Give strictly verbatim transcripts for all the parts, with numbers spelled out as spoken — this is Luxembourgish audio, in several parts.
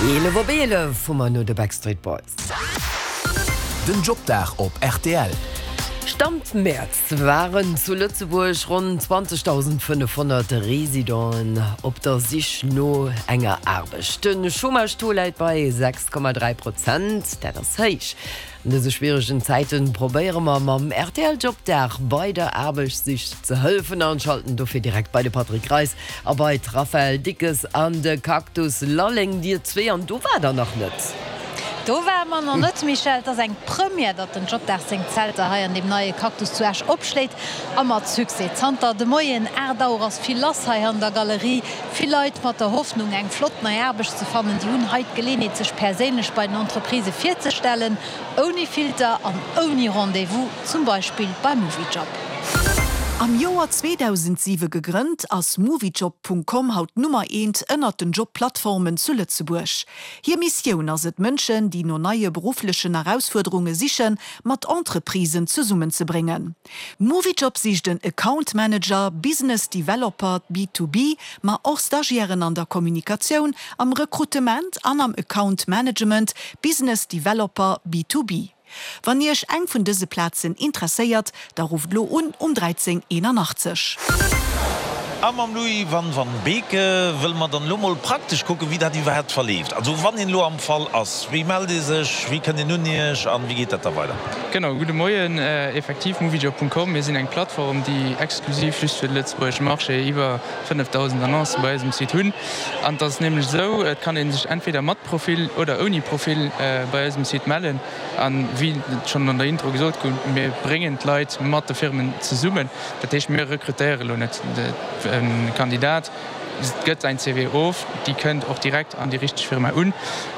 Eelef op eelef hu mer no de Backstreet Boys. Den Jobdag op R T L. Stand Mäerz waren zu Lëtzebuerg ronn zwanzegdausendfënnefhonnert Residenten op der Sich no enger Aarbecht. De Chômage-Taux läit bei sechs Komma dräi Prozent, dat ass héich. An dëse schwieregen Zäiten probéiere mer mam R T L Jobdag bei der Aarbechtssich ze hëllefen an schalten dofir direkt bei de Patrick Greis a bei d'Raphaëlle Dickes an de Cactus Lalleng. Dir zwee, an do waart der nach net. Do ware mer nach net, Michèle. Et ass eng Première, datt den Jobdag seng Zelter hei an dem neie Cactus zu Esch opschléit a mat Succès. Zanter de Moien aacht Auer ass vill lass hei an der Galerie. Vill Leit mat der Hoffnung, eng flott nei Aarbecht ze fannen. Déi hunn hei d'Geleeënheet, sech perséinlech bei den Entreprisë virzestellen, ouni Filter an ouni Rendez-vous, zum Beispill beim Moviejob. Am Joer zweedausentsiwe gegrënnt, ass Moviejob Punkt com haut Nummer eent ënnert den Jobplattformen zu Lëtzebuerg. Hir Missioun ass et, Mënschen, déi no neie berufflechen Erausfuerderunge sichen, mat Entreprisen zesummenzebréngen. Moviejob sicht den Account Manager, Business Developer B zwei B, ma och Stagiairen an der Kommunikatioun, am Rekrutement an am Account Management, Business Developer B zwei B. Wann Iech eng vun dëse Plazen interesséiert, da rufft lo un um dräizéng eenanachtzeg. A mam Louis van van Beke wëlle mer dann lo mol praktesch kucken, wéi dat iwwerhaapt verleeft. Also wann een lo am Fall ass, wéi mellt ee sech, wéi kënnt een un Iech an wéi geet dat da weider? Genau, gudde Moien. Äh, effektiv moviejob Punkt com. Mir sinn eng Plattform, déi exklusiv just fir de Lëtzebuerger Marché iwwer fënnefdausend Annoncë bei eis um Site hunn. An dat ass nämlech sou, et kann ee sech entweder mat Profil oder ouni Profil äh, bei eis um Site mellen. An wéi schonn an der Intro gesot gouf, mir bréngen d'Leit mat de Firmen zesummen. Dat heescht, mir rekrutéiere lo net e Kandidat, et gëtt säin C V of, dee kënnt och direkt an déi richteg Firma un.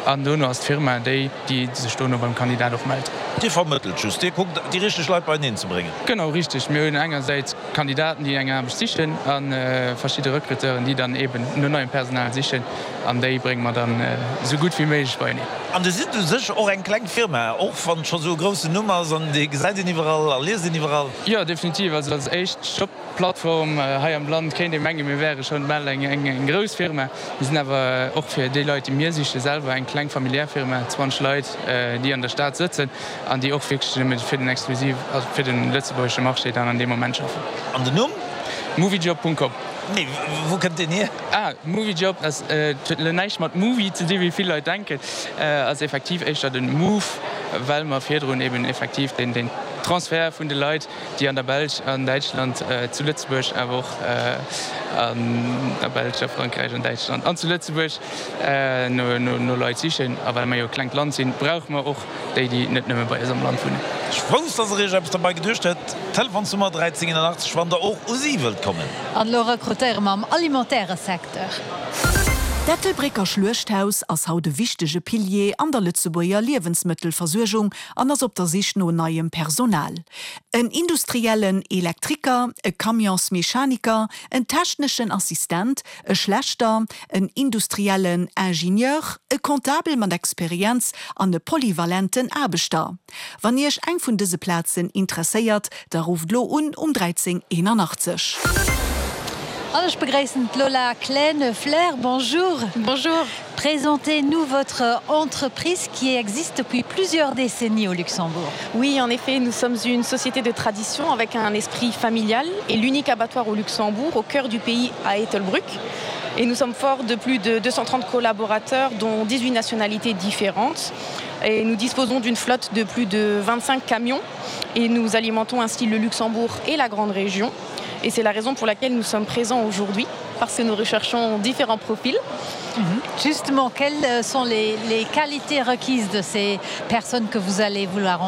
An dono ass d'Firma déi, déi sech dono beim Kandidat och mellt. Dir vermëttelt just, Dir kuckt, déi richteg Leit beieneen ze bréngen. Genau, richteg. Mir hunn engersäits Kandidaten, déi eng Aarbecht sichen an äh, verschidde Recruteuren, déi dann eben no neiem Personal sichen an déi brénge mer dann äh, sou gutt wéi méiglech beieneen. An Dir sidd u sech och eng kleng Firma, och wann scho sou e groussen Numm ass an déi gesäit een iwwerall a liest een iwwerall. Jo, definitiv. Also als éischt Jobplattform äh, hei am Land kéint ee mengen, mir wäre schonn mol eng, eng, eng grouss Firma. Mir sinn awer och fir déi Leit, déi mir siche selwer eng kleng familiär Firma, zwanzeg Leit, äh, déi an der Stad sëtzen an déi och wierklech nëmme fir den exklusiv also fir de lëtzebuergesche Marché dann an deem Moment schaffen. An den Numm? Moviejob Punkt com. Nee, wou kënnt deen hier? Ah, Moviejob ass äh, huet näischt mat Movie ze dinn, wéi vill Leit denken. Äh, ass effektiv éischter den Move, well mer virdrun eben effektiv den, den Transfer vun de Leit, déi an der Belsch, an Däitschland, äh, zu Lëtzebuerg, awer och äh, an der Belsch, a Frankräich, an Däitschland an zu Lëtzebuerg äh, no, no, no Leit sichen. A well mer jo e klengt Land sinn, brauche mer och déi, déi net nëmme bei eis am Land wunnen. Ech wousst, dass der iech eppes dobäi geduecht hutt. Telefonsnummer dräizéng eenanachtzeg, wann der och u si wëllt kommen. An lo rekrutéiere mer am alimentaire Secteur. D'Ettelbrécker Schluechthaus ass haut e wichtege Pilier an der Lëtzebuerger Liewensmëttelversuergung an ass op der Sich no neiem Personal. En industriellen Elektriker, e Camionsmechaniker, en techneschen Assistent, e Schlächter, en industriellen Ingenieur, e Comptabel mat Experienz an e polyvalenten Aarbechter. Wann Iech eng vun dëse Plazen interesséiert, da rufft lo un um dräizéng eenanachtzeg. An ech begréissen Lola Kleine-Flair. Bonjour. Bonjour. Présentez-nous votre entreprise qui existe depuis plusieurs décennies au Luxembourg. Oui, en effet, nous sommes une société de tradition avec un esprit familial et l'unique abattoir au Luxembourg, au cœur du pays à Ettelbruck. Et nous sommes forts de plus de deux cent trente collaborateurs, dont dix-huit nationalités différentes. Et nous disposons d'une flotte de plus de vingt-cinq camions et nous alimentons ainsi le Luxembourg et la grande région. Et c'est la raison pour laquelle nous sommes présents aujourd'hui, parce que nous recherchons différents profils. Mhm. Justement, quelles sont les, les qualités requises de ces personnes que vous allez vouloir